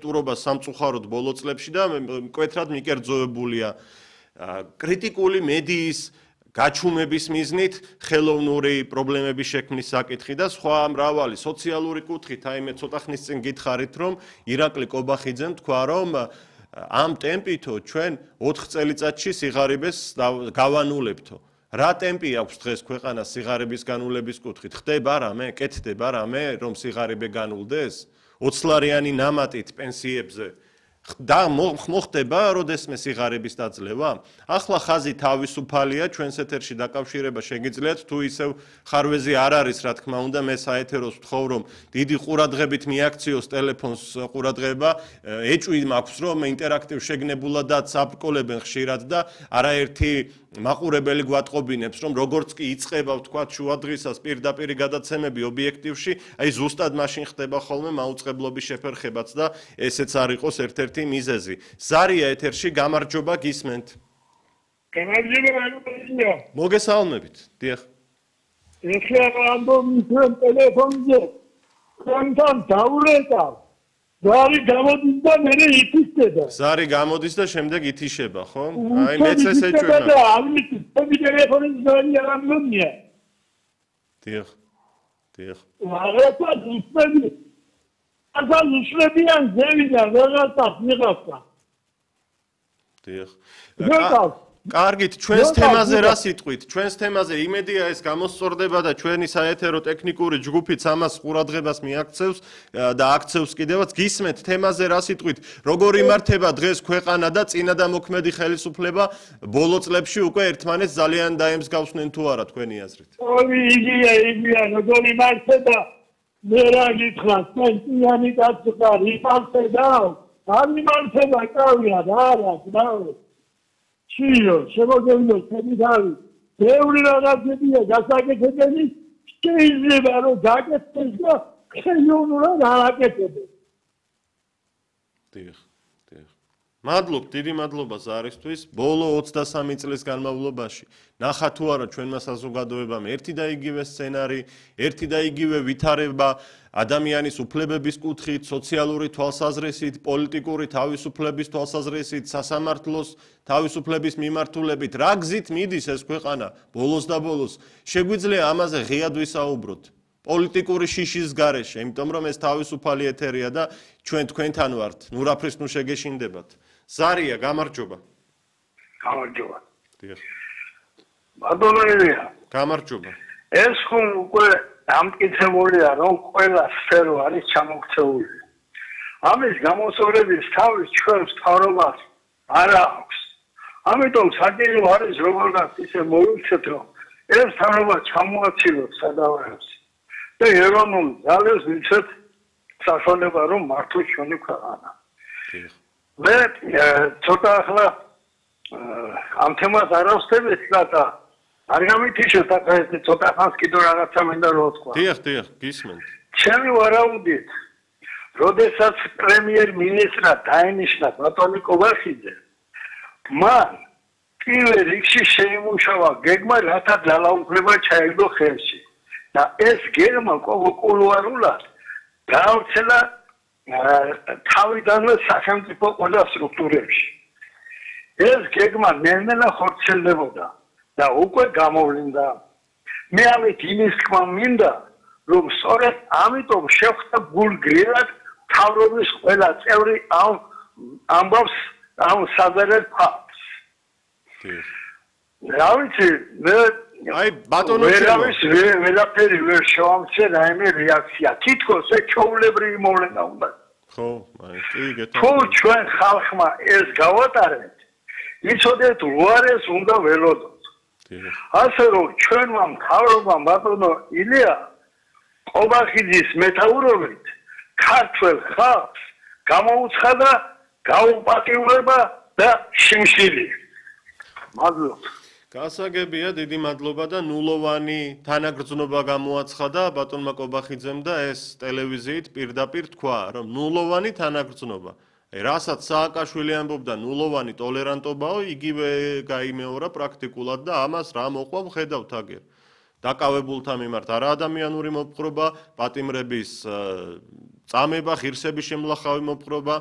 ელემენტურობა სამწუხაროდ ბოლო წლებში და მკვეთრად მიკერძოებულია კრიტიკული მედიის გაჩუმების მიზნით ხელოვნური პრობლემების შექმნის საკითხი და სხვა მრავალი სოციალური კუთხით, აი მე ცოტა ხნის წინ გითხარით, რომ ირაკლი კობახიძემ თქვა, რომ ამ ტემპითო ჩვენ 4 წელიწადში სიღარიბეს გავანულებთო. რა ტემპი აქვს დღეს ქვეყანას სიღარიბის განულების კუთხით? ხდება რამე? კეთდება რამე, რომ სიღარიბე განულდეს? 20 ლარიანი ნამატით პენსიებზე და მოხდება როდესმე სიღარიბის დაძლევა? ახლა ხაზი თავისუფალია, ჩვენს ეთერში დაკავშირება შეგიძლიათ, თუ ისევ ხარვეზი არ არის, რა თქმა უნდა, მე საეთეროს ვთხოვ, რომ დიდი ყურადღებით მიაქციოს ტელეფონს ყურადღება, ეჭვი მაქვს, რომ ინტერაქტივ შეგნებულადაც აბკოლებენ ხშირად და არაერთი მაყურებელი გვატყობინებს, რომ როგორც კი იწყება, ვთქვათ, შუადღისას პირდაპირი გადაცემები ობიექტივში, აი ზუსტად მაშინ ხდება ხოლმე მაუწყებლობის შეფერხებაც და ესეც არ იყოს ერთ-ერთი მიზეზი. ზარია ეთერში, გამარჯობა, გისმენთ. გამარჯობა, მოგესალმებით. დიახ. ეხლა ამბობ ტელეფონზე. კონტან დაურეკავ. ზარი გამოდის და მე ითიშება. ზარი გამოდის და შემდეგ ითიშება, ხო? აი მეც ეს ეჭვება. ამიტომ ტელეფონის ზარი არ ამგონია. დიახ. დიახ. რაღაცა ისმები. აბა ისმებიან ზევიდა რაღაცას მიღწა. დიახ. გეტყვით. კარგით, ჩვენს თემაზე რა სიტყვით? ჩვენს თემაზე იმედია ეს გამოსწორდება და ჩვენი საეთერო ტექნიკური ჯგუფიც ამას ყურადღებას მიაქცევს და აქცევს კიდევაც. გისმენთ თემაზე რა სიტყვით? როგორ იმართება დღეს ქვეყანა და წინადამოქმედი ხელისუფლება ბოლო წლებში უკვე ერთმანეთს ძალიან დაემსგავსნენ თუ არა თქვენი აზრით? იგია, როგორ იმართება? მე რა გითხრათ, პენსიანი კაცი ხარ, იმართება? არ იმართება, კავია, არა, დაო. ჩიო, შემოგევლო თქვენი თავი. ბევრი რაღაცებია გასაკეთებელი, შეიძლება რომ გაკეთდეს და ხელოვნურად არ აკეთებდეს. დიახ, დიახ. მადლობ, დიდი მადლობა ზარისთვის. ბოლო 23 წლის განმავლობაში ნახა თუ არა ჩვენმა საზოგადოებამ ერთი და იგივე სცენარი, ერთი და იგივე ვითარება ადამიანის უფლებების კუთხით, სოციალური თვალსაზრისით, პოლიტიკური თავისუფლების თვალსაზრისით, სასამართლოს თავისუფლების მიმართულებით, რა გზით მიდის ეს ქვეყანა ბოლოს და ბოლოს. შეგვიძლია ამაზე ღიად ვისაუბროთ. პოლიტიკური შიშის გარეშე, იმიტომ რომ ეს თავისუფალი ეთერია და ჩვენ თქვენთან ვართ. ნურაფრის ნუ შეგეშინდებათ. ზარია, გამარჯობა. გამარჯობა. დიახ. ბატონია. გამარჯობა. ეს ხომ უკვე ამტკიცებულია, რომ ყველა სფერო არის ჩამოქცეული. ამის გამოსწორების თავის ჩვენს თავრობას არ აქვს. ამიტომ საჭირო არის როგორღაც ისე მოვიქცეთ, რომ ეს თავრობა ჩამოაცილოს სადავეებს. და ეროვნულ ძალებს ვიცეთ საშუალება, რომ მართოს ჩვენი ქვეყანა. მე ცოტა ახლა ამ თემას არ ავსწრებით და არ გამითიშოთ ახლა ეს ცოტა ხანს კიდევ რაღაცა მინდა რომ ვთქვა. დიახ, გისმენთ. ჩემი ვარაუდით, როდესაც პრემიერ-მინისტრად დაენიშნა ბატონი კობახიძე, მან პირველ რიგში შეიმუშავა გეგმა, რათა ძალაუფლება ჩაიგდო ხელში. და ეს გეგმა კულუარულად გაავრცელა თავიდანვე სახელმწიფო ყველა სტრუქტურებში. ეს გეგმა ნელ-ნელა ხორციელდებოდა და უკვე გამოვლინდა. მე ამით იმის თქმა მინდა, რომ სწორედ ამიტომ შეხვდა გულგრილად თავრობის ყველა წევრი ამბავს ამ საძერელ ფაქტს. რა ვიცი, მე აი ბატონო ვერაფერი ვერ შევამცე რაიმე რეაქცია. თითქოს ეს ჩაულებრივი მოვლენა უნდა. ხო, კი გეტყვით. თუ ჩვენ ხალხმა ეს გავატარეთ, იცოდეთ უარეს უნდა ველოდოთ. ასე რომ ჩვენმა მთავრობამ ბატონო ილია კობახიძის მეთაურობით ქართველ ხალხს გამოუცხადა გაუპატიურება და შიმშილი. მადლობა. გასაგებია, დიდი მადლობა და ნულოვანი თანაგრძნობა გამოაცხადა ბატონმა კობახიძემ და ეს ტელევიზიით პირდაპირ თქვა, რომ ნულოვანი თანაგრძნობა. რასაც სააკაშვილი ამბობდა ნულოვანი ტოლერანტობაო, იგივე გაიმეორა პრაქტიკულად და ამას რა მოყვა ვხედავთ აგერ. დაკავებულთა მიმართ არაადამიანური მოპყრობა, პატიმრების წამება, ღირსების შემლახავი მოპყრობა